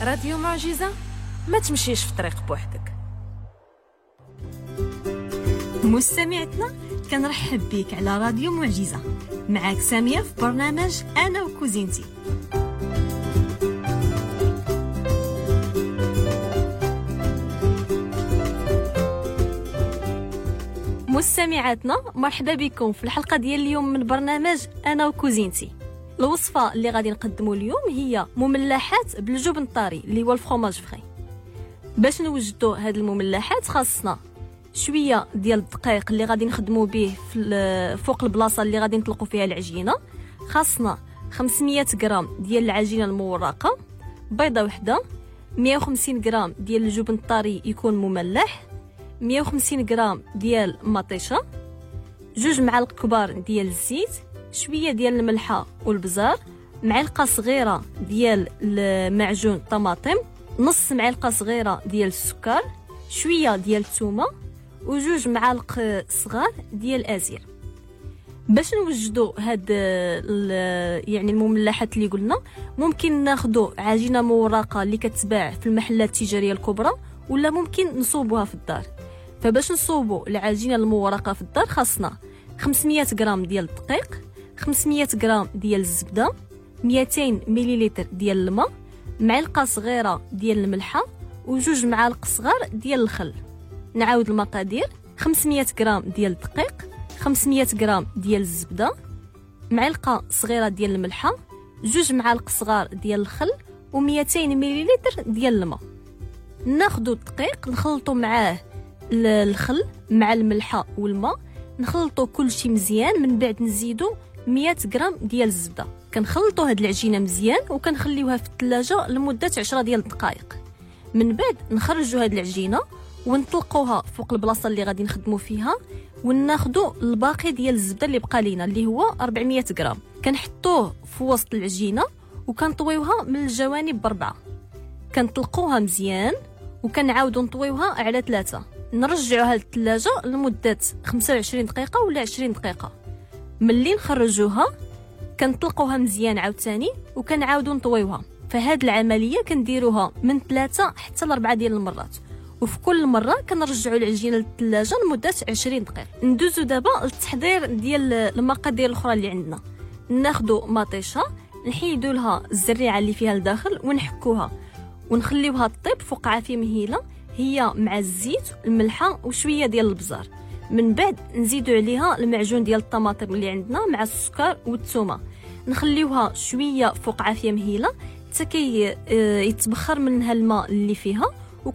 راديو معجزة، ما تمشيش في طريق بوحدك. مستمعتنا كنرحب بك على راديو معجزة، معاك سامية في برنامج أنا وكوزينتي. مستمعاتنا مرحبا بكم في الحلقة ديال اليوم من برنامج أنا وكوزينتي. الوصفة اللي غادي نقدمو اليوم هي مملحات بالجبن الطري اللي هو ال fromage frais. باش نوجدو هاد المملحات خاصنا شوية ديال الدقيق اللي غادي نخدمو به فوق البلاصة اللي غادي نطلقو فيها العجينة. خاصنا 500 غرام ديال العجينة المورقة، بيضة وحدة، 150 غرام ديال الجبن الطري يكون مملح، 150 غرام ديال مطيشة، 2 معالق كبار ديال الزيت، شوية ديال الملحة والبزار، معلقة صغيرة ديال المعجون الطماطم، نص معلقة صغيرة ديال السكر، شوية ديال الثومة، وجوج معالق صغار ديال الازير. باش نوجدوا هاد المملحات اللي قلنا، ممكن ناخذوا عجينة مورقة اللي كتباع في المحلات التجارية الكبرى، ولا ممكن نصوبوها في الدار. فباش نصوبوا العجينة المورقة في الدار خاصنا 500 غرام ديال الدقيق، 500 غرام ديال الزبدة، 200 مليلتر ديال الماء، معلقة صغيرة ديال الملحة، وجوج معالق صغار ديال الخل. نعاود المقادير: 500 غرام ديال الدقيق، 500 غرام ديال الزبدة، معلقة صغيرة ديال الملحة، 2 معالق صغار ديال الخل، و200 مليلتر ديال الماء. ناخدو الدقيق نخلطو معاه الخل مع الملحة والماء، نخلطو كلشي مزيان. من بعد نزيدو 100 غرام ديال الزبدة. كنخلطو هاد العجينة مزيان وكنخليوها في الثلاجة لمدة 10 ديال الدقائق. من بعد نخرجو هاد العجينة ونطلقوها فوق البلاصة اللي غادي نخدمو فيها، وناخدو الباقي ديال الزبدة اللي بقى لينا اللي هو 400 غرام، كنحطوه في وسط العجينة وكنطويوها من الجوانب ب4. كنطلقوها مزيان وكنعاودو نطويوها على 3. نرجعوها للثلاجة لمدة 25 دقيقة ولا 20 دقيقة. ملي نخرجوها كنطلقوها مزيان عاوتاني وكنعاودو نطويوها. فهاد العملية كنديروها من 3 حتى ل4 ديال المرات، وفي كل مرة كنرجعوا العجينة للثلاجة لمدة 20 دقيقة. ندوزو دابا للتحضير ديال المقادير الأخرى اللي عندنا. ناخدو مطيشة، نحيدو لها الزريعة اللي فيها لداخل ونحكوها ونخليوها تطيب فوق عافية مهيلة، هي مع الزيت الملحة وشوية ديال البزار. من بعد نزيدو عليها المعجون ديال الطماطم اللي عندنا مع السكر والثومة، نخليوها شوية فوق عافية مهيلة حتى كي يتبخر منها الماء اللي فيها،